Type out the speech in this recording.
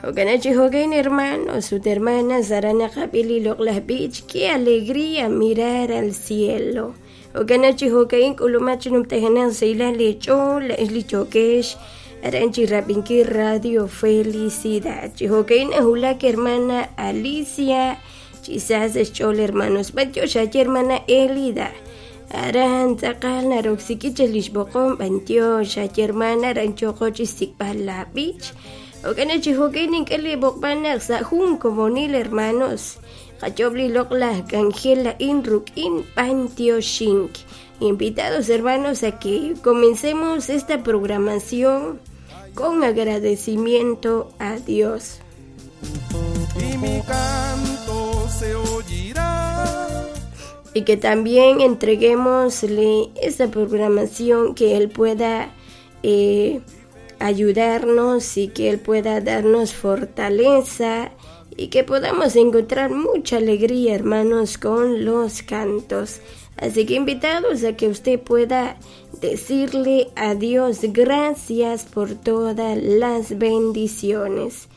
Jo'kan chi jo'kan, hermanos ut hermanas, aran naqab'i li loq'laj b'ich "Qué alegría mirar al cielo". Jo'kan chi jo'kan, k'ulumaq chi numtajenaq sahilal leech'ool laa'ex li yookex aran chi rab'inkil Radio Felicidad. Chi jo'kan nahulak hermana Alicia chi sa sa' xch'ool, hermanos. B'antiox aaye, hermana Elida, aran tz'aqal naroksiki chaq li xb'oqom. B'antiox aaye, hermana, aran yooqo chi xsik'b'al laab'ich. Jo'kan chi jo'kan, nink'e li b'oqb'al naq sa' jun komonil, hermanos, qayoob' li loq'laj k'anjel a'in ruk'in b'antioxink. Invitados, hermanos, a que comencemos esta programación con agradecimiento a Dios. Y mi canto se oirá. Y que también entreguémosle esta programación, que Él pueda ayudarnos y que Él pueda darnos fortaleza y que podamos encontrar mucha alegría, hermanos, con los cantos. Así que invitados a que usted pueda decirle a Dios gracias por todas las bendiciones.